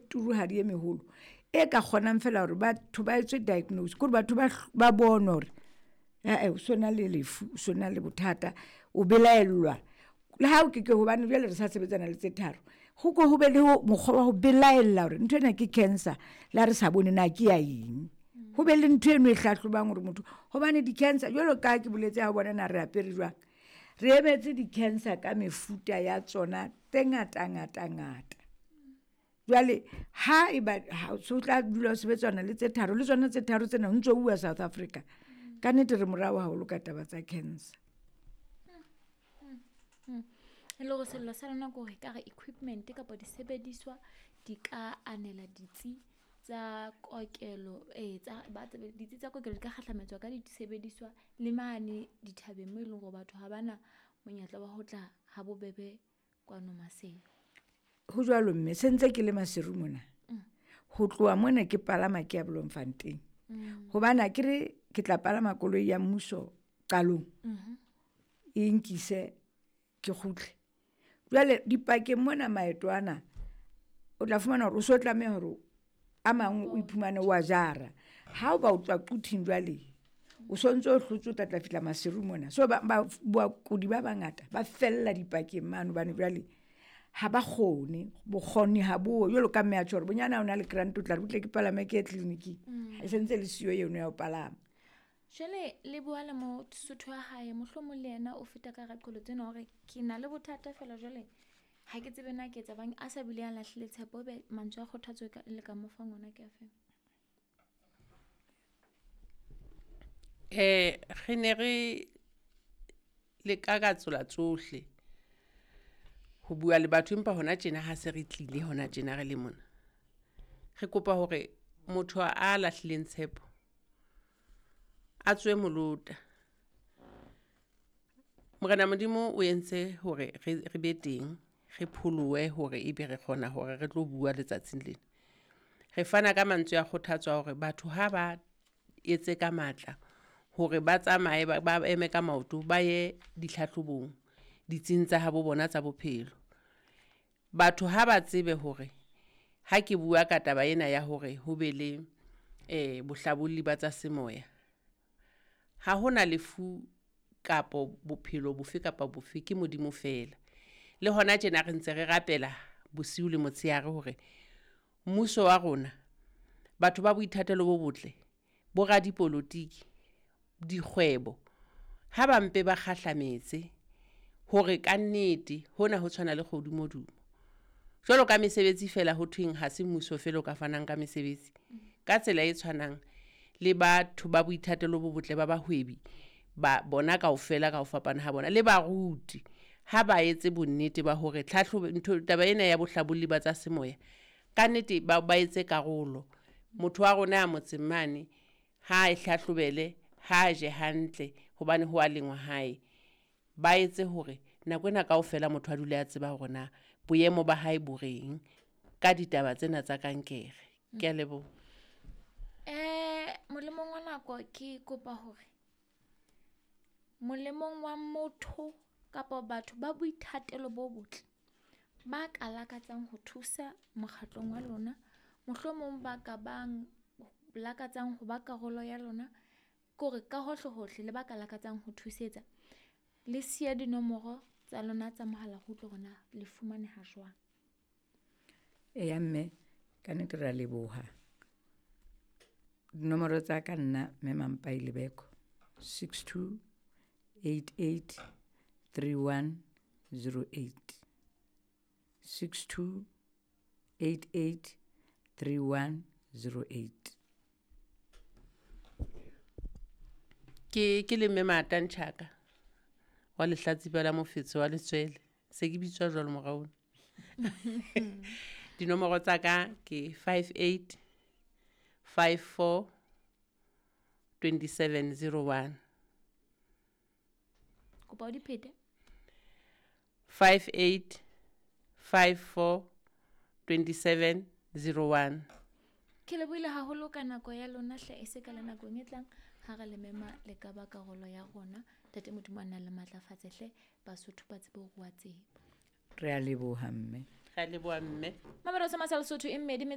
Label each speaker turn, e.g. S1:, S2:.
S1: turuhadi e meholo e ka kgonang fela hore batho ba etswe diagnose, ke hore batho ba bone hore ae o so na le lefu, o so na le bothata, o belaellwa. Le ha o ke ke hobane jwale re sa sebetsana le tse tharo, ho ko ho be le mokgwa wa ho belaella hore nthwena ke cancer le ha re sa bone na ke ya eng. Ho be le ntho eno e hlahlobang hore motho, hobane di-cancer jwalo ka ha ke boletse ha o bona na re apere jwang, re emetse di-cancer ka mefuta ya tsona tse ngata ngata ngata. Jwale ha eba so tla dula ho sebetsana le tse tharo, le tsona tse tharo tsena ho ntso uwa South Africa. Ka nnete re morao haholo ka taba tsa cancer.
S2: E le hore sello sa lona ke hore ekare equipment kapa disebediswa di ka anela ditsi tsa kokelo, tsa ba tsebe ditsi tsa kokelo di ka kgahlametswa ka disebediswa le mane dithabeng moo e leng hore batho ha bana monyetla wa ho tla ha bobebe kwano Maseru.
S1: Ho jwalo mme, se ntse ke le Maseru mona. Ho tloha mona ke palama ke ya Bloemfontein. Hobane akere ke tla palama koloi ya mmuso qalong, e nkise ke kgutle. Jwale dipakeng mona maeto ana, o tla fumana hore o so tlameha hore a mang o iphumane wa jara. Ha o ba o tswa Quthing jwale, o sontso o hlotse o tla tla fihla Maseru mona. So bakudi ba bangata ba fella dipakeng mane hobane jwale ha ba kgone, bokgoni ha bo jwalo ka mme a tjho hore bonyane ha o na le grant o tla re butle ke palame ke ye tleliniking. E sentse le siyo eno ya ho palama.
S2: Jwale le bua le Mosotho wa hae, mohlomong le yena o feta ka hara qholotso ena hore ke na le bothata fela jwale ha ke tsebe na ke etsa bang, a sa bile a lahlile tshepo, ebe mantswe a kgothatso le ka mo fang ona ke a feng?
S3: Re ne re leka ka tsela tsohle ho bua le batho, empa hona tjena ha se re tlile hona tjena re le mona. Re kopa hore motho a lahlileng tshepo a tswe molota. Morena Modimo o entse hore re be teng, re pholohe hore ebe re kgona hore re tlo bua letsatsing lena. Re fana ka mantswe a kgothatso a hore batho ha ba etse ka matla hore ba tsamaye ba eme ka maoto, ba ye ditlhahlobong ditsing tsa habo bona tsa bophelo. Batho ha ba tsebe hore ha ke bua ka taba ena ya hore ho be le bohlabolli ba tsa semoya, ha hona lefu kapo bophelo bofe kapa bofe, ke Modimo fela. Le hona tjena re ntse re rapela bosiu le motshehare hore mmuso wa rona, batho ba boithatelo bo botle, bo radipolotiki, dikgwebo, ha ba mpe ba kgahlametse hore kannete hona ho tshwana le kgodumodumo. Jwalo ka mesebetsi fela ho thweng ha se mmuso fela o ka fanang ka mesebetsi. Ka tsela e tshwanang le batho ba boithatelo bo botle ba bahwebi, ba bona kaofela ka ho fapana ha bona, le baruti ha ba etse bonnete ba hore tlhahlobo ntho taba ena ya bohlabolli ba tsa semoya kannete ba etse karolo. Motho wa rona ya motseng mane ha e hlahlobele, ha je hantle hobane ho a lengwa hae. Ba etse hore nako ena kaofela motho a dule a tseba hore na boemo ba hae bo reng ka ditaba tsena tsa kankere. Ke a leboha.
S2: Molemong wa nako ke kopa hore molemong wa motho kapa batho ba boithatelo bo botle ba ka lakatsang ho thusa mokgatlong wa lona, mohlomong ba ka bang lakatsang ho ba karolo ya lona, ke hore ka hohle hohle le ba ka lakatsang ho thusetsa, le siya dinomoro tsa lona tsa mohala ho utlwe hore na le fumaneha jwang.
S1: Eya mme, ka nnete re a leboha. Dinomoro tsa ka nna mme Mampai Lebeko, 62 88 31 08. 62 88 31 08.
S3: Ke le mme Mata Ntjhaka wa lehlatsipa la mofetshe wa letswele, se ke bitswa jwalo morao. Dinomoro tsa ka ke 58 54 27 01.
S2: Kopa o di phete.
S3: 58 54 27 01.
S2: Ke lebohile haholo ka nako ya lona hle, e se ka le nakong e tlang ha re le mema le ka ba karolo ya rona. Ntate Modimo a nna le matlafatse hle, Basotho ba tsebe ho rua tsebo.
S1: Re a leboha mme.
S3: Re a leboha mme.
S2: Mamelodi sa Lesotho e mmedi.